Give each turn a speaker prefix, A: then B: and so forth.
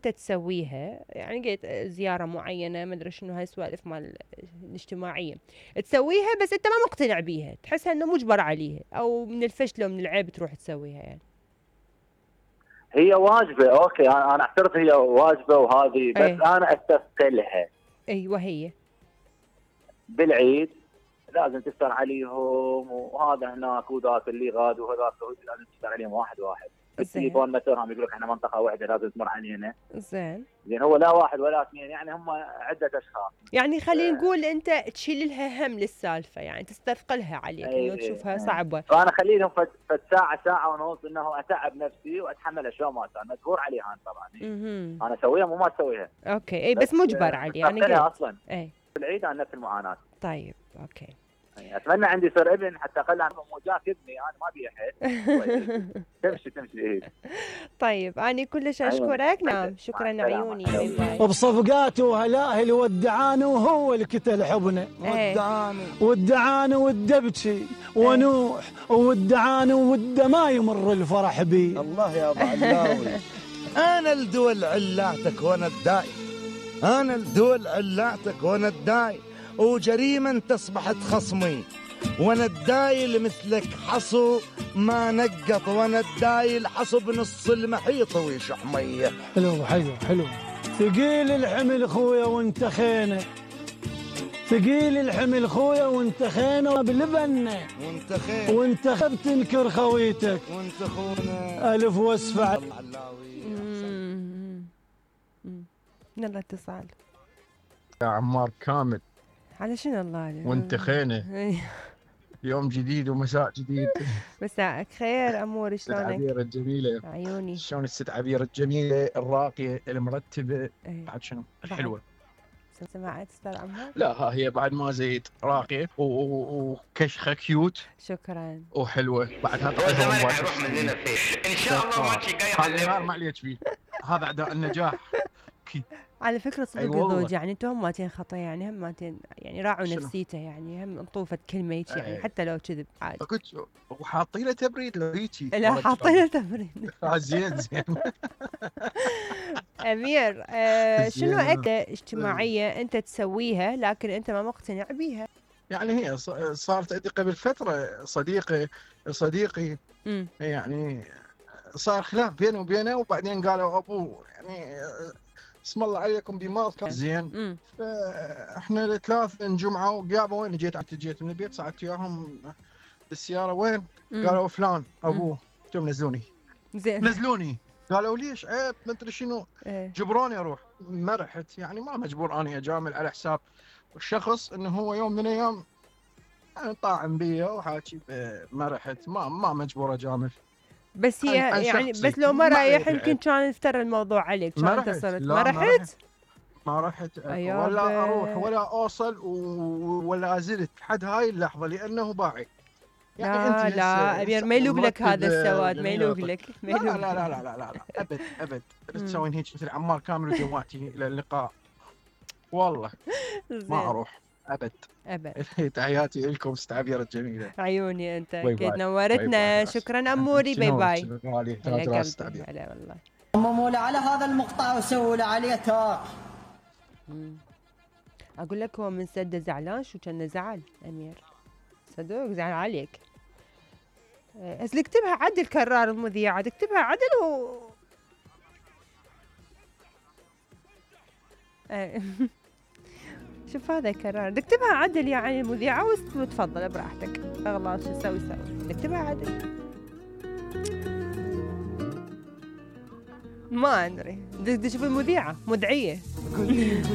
A: انت تسويها، يعني قلت زيارة معينة ما ادري شنو، هاي السوالف مال الاجتماعية تسويها بس انت ما مقتنع بيها، تحسها انه مجبر عليها او من الفشل او من العيب تروح تسويها يعني؟
B: هي واجبه، اوكي انا اعترف هي واجبه وهذه، بس
A: ايه.
B: انا استثقلها.
A: ايوه هي
B: بالعيد لازم تستر عليهم، وهذا هناك وذاك اللي غاد وهذاك لازم تستر عليهم واحد واحد. بالتليفون مثلا يقول لك احنا منطقه واحده لازم تمر علينا.
A: زين
B: هو لا واحد ولا اثنين، يعني هم عده اشخاص.
A: يعني خلينا نقول انت تشيل لها هم للسالفه، يعني تستثقلها عليك انه تشوفها صعبه.
B: فانا اخليهم فد ساعه ساعه ونص انه اتعب نفسي واتحمل اشياء ما كان مجبور عليها انا طبعا. انا اسويها مو ما اسويها.
A: اوكي اي بس مجبر علي يعني
B: اصلا.
A: اي
B: بالعيد عن نفس المعاناه.
A: طيب اوكي.
B: يعني اتمنى عندي يصير ابن حتى اخلي مو جاك ابني، انا ما ابي احد. تمشي.
A: طيب انا كلش اشكرك. نعم شكرا عيوني.
C: بصفقاته وهلاهل ودعانه وهو اللي كتل حبنا. ودعانه والدبتي ونوح ودعانه وده ما يمر الفرح بي.
D: الله يا ابو علاوي. انا الدول علاتك وانا الداي، انا الدول علاتك وانا الداي، وجريمة تصبحت خصمي، وانا الدايل مثلك حصو ما نقط، وانا الدايل حصو بنص المحيط ويشح ميه.
C: حلو ثقيل الحمل خويا وانت خينه، ثقيل الحمل خويا وانت خينه بلبنه، وانت بتنكر خويتك
D: وانت خونا
C: الف واسفع.
A: يلا اتصال
E: يا عمار كامل.
A: على شنو الله عليك
E: وانت خينه. يوم جديد ومساء جديد.
A: مساءك خير اموري، شلونك؟
E: الست عبير الجميله
A: عيوني.
E: شلون الست عبير الجميله الراقيه المرتبه؟ بعد شنو الحلوه.
A: سمعت استاذ عمار؟
E: لا ها هي بعد ما زيد راقيه وكشخه كيوت.
A: شكرا.
E: وحلوه بعد. هذا
F: الزمالك يروح مننا فيه ان شاء الله. ماتشي جاي
E: هذا ما عليك فيه، هذا اعداء النجاح.
A: على فكرة صدق الزوج يعني انتم هماتين خطا، يعني هماتين يعني راعوا نفسيته، يعني هم انطوفت كلمة يعني حتى لو كذب عادي.
E: قلت وحاطين له تبريد لو هيجي.
A: لا حاطين له تبريد.
E: زين
A: امير شنو اكله اجتماعية انت تسويها لكن انت ما مقتنع بيها؟
E: يعني هي صارت عندي قبل فترة صديقي يعني صار خلاف بينه وبينه، وبعدين قالوا ابوه يعني اسم الله عليكم بمال زين. فاحنا الثلاث انجمعوا وقابوا. وين جيت من البيت صعدت وياهم بالسياره. وين؟ قالوا فلان ابوه. قلت لهم نزلوني.
A: زين
E: نزلوني. قالوا ليش؟ عيب ما ادري شنو. جبروني اروح. ما رحت، يعني ما مجبور اني اجامل على حساب الشخص انه هو يوم من الايام يعني طاعم بي وحاكي. ما رحت، ما مجبور اجامل.
A: بس هي يعني بس لو ما رايح يمكن كان يفتر الموضوع عليك. كان انت صرت ما رحت
E: ولا اروح ولا اوصل ولا زلت لحد هاي اللحظه لانه باعي.
A: يعني لا أمير ما يلوق لك هذا السواد، ما يلوق لك.
E: لا ابد تسوين هيك مثل عمار كامل وجماعتي الى اللقاء والله ما اروح ابد. تحياتي لكم ست عبير الجميله.
A: عيوني انت اكيد نورتنا. شكرا اموري. باي باي.
C: هلا والله. صمموا له على هذا المقطع وسووا له عليه تاك.
A: اقول لك هو من سده زعلان. شو كان زعل امير؟ صدق زعل عليك. اصل اكتبها عدل كرار المذيعة، اكتبها عدل شوف هذا كرار، اكتبها عدل يعني المذيعة وتفضل براحتك. خلاص شو تسوي اكتبها عدل. ما ادري. شوف المذيعة مدعية.